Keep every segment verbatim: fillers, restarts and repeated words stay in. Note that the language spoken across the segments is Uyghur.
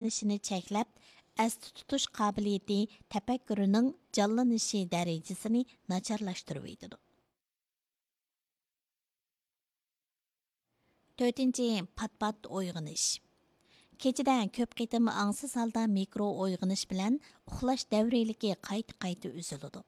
ئىشلىنىشىنى چەكلەپ، ئەستە تۇتۇش قابىلىيىتى، تەپەككۇرىنىڭ جانلىنىشى دەرىجىسىنى ناچارلاشتۇرۇۋېتىدۇ. تۆتىنچى، پات-پات ئويغىنىش. كېچىدە كۆپ قېتىم ئاڭسىز ھالدا مىكرو ئويغىنىش بىلەن ئۇخلاش دەۋرىيلىكى قايتا-قايتا ئۈزۈلىدۇ.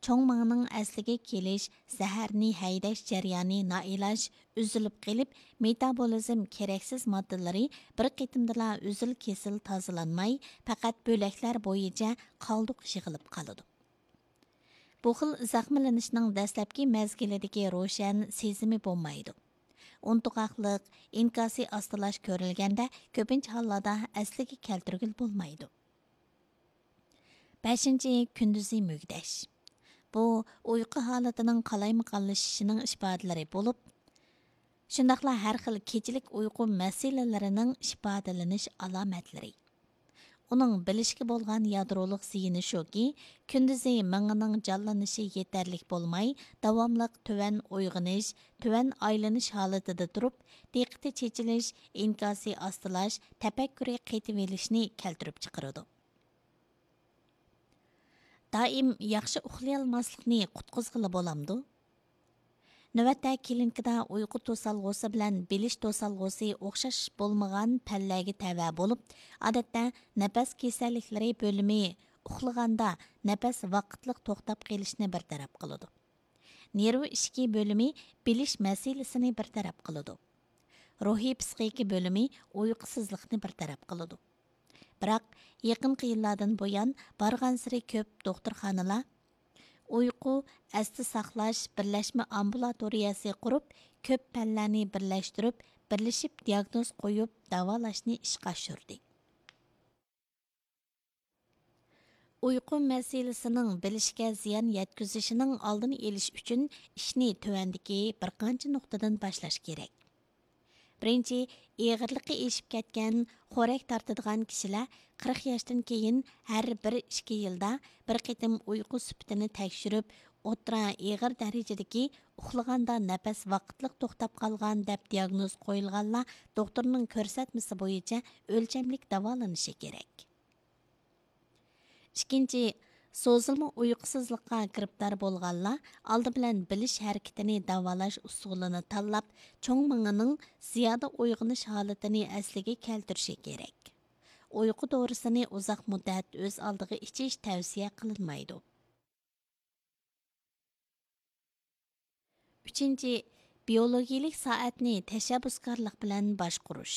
چوڭ مېڭىنىڭ ئەسلىگە كېلىش، زەھەرنى ھەيدەش جەريانى نائىلاج ئۈزۈلۈپ قېلىپ، مېتابولىزم كېرەكسىز ماددىلىرى بىر قېتىمدىلا ئۈزۈل-كېسىل تازىلانماي، پەقەت بۆلەكلەر بويىچە قالدۇق يىغىلىپ قالىدۇ. بۇ خىل زەخىملىنىشنىڭ دەسلەپكى مەزگىلىدىكى روشەن سېزىمى بولمايدۇ. ئۇنتۇغاقلىق، ئىنكاسى ئاستىلاش كۆرۈلگەندە، كۆپىنچە ھاللاردا ئەسلىگە كەلتۈرگىلى بولمايدۇ. بەشىنچى، كۈندۈزى مۈگدەش. بۇ ئۇيقۇ ھالىتىنىڭ قالايمىقانلىشىشىنىڭ ئىپادىلىرى بولۇپ، شۇنداقلا ھەر خىل كېچىلىك ئۇيقۇ مەسىلىلىرىنىڭ ئىپادىلىنىش ئالامەتلىرى. ئۇنىڭ بىلىشكە بولغان يادرولۇق زىيىنى شۇكى، كۈندۈزى مېڭىنىڭ جانلىنىشى يېتەرلىك بولماي، داۋاملىق تۆۋەن ئويغىنىش، تۆۋەن ئايلىنىش ھالىتىدە تۇرۇپ، دىققىتى چېچىلىش، ئىنكاسى ئاستىلاش، تەپەككۇرى قېتىۋېلىشنى كەلتۈرۈپ چىقىرىدۇ. دائىم ياخشى ئۇخلىيالماسلىقنى قۇتقۇزغىلى بولامدۇ؟ نۆۋەتتە كلىنىكىدا ئۇيقۇ توسالغۇسى بىلەن بىلىش توسالغۇسى ئوخشاش بولمىغان پەنلەرگە تەۋە بولۇپ، ئادەتتە نەپەس كېسەللىكلىرى بۆلۈمى ئۇخلىغاندا نەپەس ۋاقىتلىق توختاپ قېلىشنى بىر تەرەپ قىلىدۇ. نېرۋا ئىشىكى بۆلۈمى بىلىش مەسىلىسىنى بىر تەرەپ قىلىدۇ. روھىي پسىخىكا بۆلۈمى ئۇيقۇسىزلىقنى بىر تەرەپ قىلىدۇ. بىراق، يېقىنقى يىللاردىن بۇيان بارغانسېرى كۆپ دوختۇرخانىلار ئۇيقۇ، ئەستە ساقلاش بىرلەشمە ئامبۇلاتورىيەسى قۇرۇپ، كۆپ پەنلەرنى بىرلەشتۈرۈپ، بىرلىشىپ دىياگنوز قويۇپ داۋالاشنى ئىشقا ئاشۇردى. ئۇيقۇ مەسىلىسىنىڭ بىلىشكە زىيان يەتكۈزۈشىنىڭ ئالدىنى ئېلىش ئۈچۈن ئىشنى تۆۋەندىكى بىر قانچە نۇقتىدىن باشلاش كېرەك. بىرىنچى، ئېغىرلىقى ئېشىپ كەتكەن، خورەك تارتىدىغان كىشىلەر قىرىق ياشتىن كېيىن ھەر بىر ئىككى يىلدا بىر قېتىم ئۇيقۇ سۈپىتىنى تەكشۈرۈپ، ئوتتۇرا ئېغىر دەرىجىدىكى ئۇخلىغاندا نەپەس ۋاقىتلىق توختاپ قالغان دەپ دىياگنوز قويۇلغانلار دوختۇرنىڭ كۆرسەتمىسى بويىچە ئۆلچەملىك داۋالىنىشى كېرەك. ئىككىنچى، سوزۇلما ئۇيقۇسىزلىققا گىرىپتار بولغانلار ئالدى بىلەن بىلىش ھەرىكىتىنى داۋالاش ئۇسۇلىنى تاللاپ، چوڭ مېڭىنىڭ زىيادە ئويغىنىش ھالىتىنى ئەسلىگە كەلتۈرۈشى كېرەك. ئۇيقۇ دورىسىنى ئۇزاق مۇددەت ئۆز ئالدىغا ئىچىش تەۋسىيە قىلىنمايدۇ. ئۈچىنچى، بىيولوگىيىلىك سائەتنى تەشەببۇسكارلىق بىلەن باشقۇرۇش.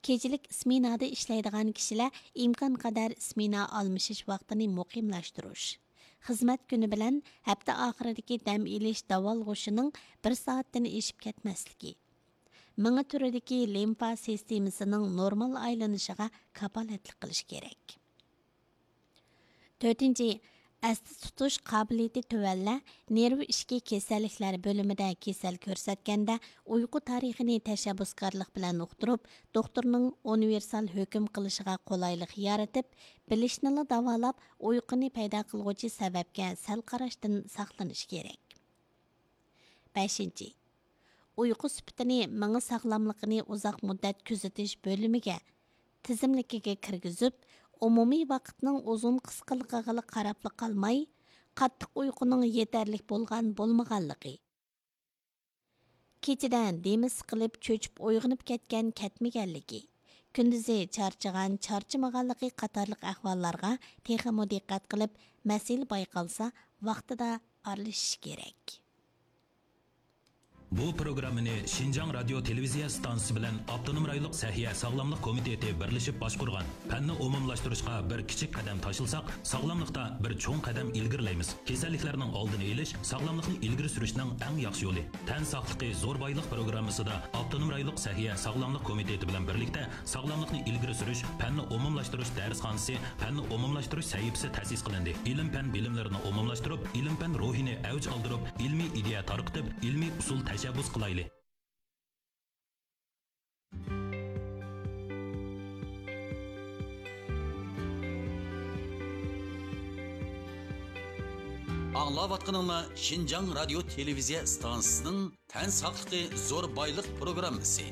كېچىلىك سمېنادا ئىشلەيدىغان كىشىلەر ئىمكانقەدەر سمېنا ئالمىشىش ۋاقتىنى مۇقىملاشتۇرۇش. خىزمەت كۈنى بىلەن ھەپتە ئاخىرىدىكى دەم ئېلىش داۋالغۇشىنىڭ بىر سائەتتىن ئېشىپ كەتمەسلىكى. مېڭە تۈرىدىكى لىمفا سىستېمىسىنىڭ نورمال ئايلىنىشىغا كاپالەتلىك قىلىش كېرەك. تۆتىنچى، ئەستە تۇتۇش قابىلىيىتى تۆۋەنلەر نېرۋا ئىچكى كېسەللىكلەر بۆلۈمىدە كېسەل كۆرسەتكەندە، ئۇيقۇ تارىخىنى تەشەببۇسكارلىق بىلەن ئۇقتۇرۇپ، دوختۇرنىڭ ئۇنىۋېرسال ھۆكۈم قىلىشىغا قولايلىق يارىتىپ، بىلىشنىلا داۋالاپ، ئۇيقۇنى پەيدا قىلغۇچى سەۋەبكە سەل قاراشتىن ساقلىنىش كېرەك. بەشىنچى، ئۇيقۇ سۈپىتىنى مېڭە ساغلاملىقىنى ئۇزاق مۇددەت كۆزىتىش بۆلۈمىگە، تىزىملىكىگە كىرگۈزۈپ، ئومۇمىي ۋاقىتنىڭ ئۇزۇن قىسقىلىقىغىلا قاراپلا قالماي، قاتتىق ئۇيقۇنىڭ يېتەرلىك بولغان بولمىغانلىقى، كېچىدە دېمى سىقىلىپ چۆچۈپ ئويغىنىپ كەتكەن كەتمىگەنلىكى، كۈندۈزى چارچىغان چارچىمىغانلىقى قاتارلىق ئەھۋاللارغا تېخىمۇ دىققەت قىلىپ، مەسىلە بايقالسا، ۋاقتىدا ئارىلىشىش كېرەك. بۇ پروگراممىنى شىنجاڭ رادىيو تېلېۋىزىيە ئىستانسىسى بىلەن ئاپتونوم رايونلۇق سەھىيە ساغلاملىق كومىتېتى بىرلىشىپ باشقۇرغان. پەننى ئومۇملاشتۇرۇشقا بىر كىچىك قەدەم تاشلىساق، ساغلاملىقتا بىر چوڭ قەدەم ئىلگىرىلەيمىز. كېسەللىكلەرنىڭ ئالدىنى ئېلىش، ساغلاملىقنى ئىلگىرى سۈرۈشنىڭ ئەڭ ياخشى يولى. تەن ساقلىقى زور بايلىق پروگراممىسىدا ئاپتونوم رايونلۇق سەھىيە ساغلاملىق كومىتېتى بىلەن بىرلىكتە ساغلاملىقنى ئىلگىرى سۈرۈش، پەننى ئومۇملاشتۇرۇش دەرسخانىسى، پەننى ئومۇملاشتۇرۇش سەھىپىسى تەسىس قىلىندى. ئىلىم-پەن بىلىملىرىنى ئومۇملاشتۇرۇپ، ئىلىم-پەن روھىنى ئەۋج ئالدۇرۇپ، ئىلمىي ئىدىيە تارقىتىپ، ئىلمىي ئۇسۇل تەشەببۇس قىلايلى. ئاڭلاۋاتقىنىڭلار شىنجاڭ رادىيو تېلېۋىزىيە ئىستانسىسىنىڭ تەن ساقلىقى زور بايلىق پروگراممىسى.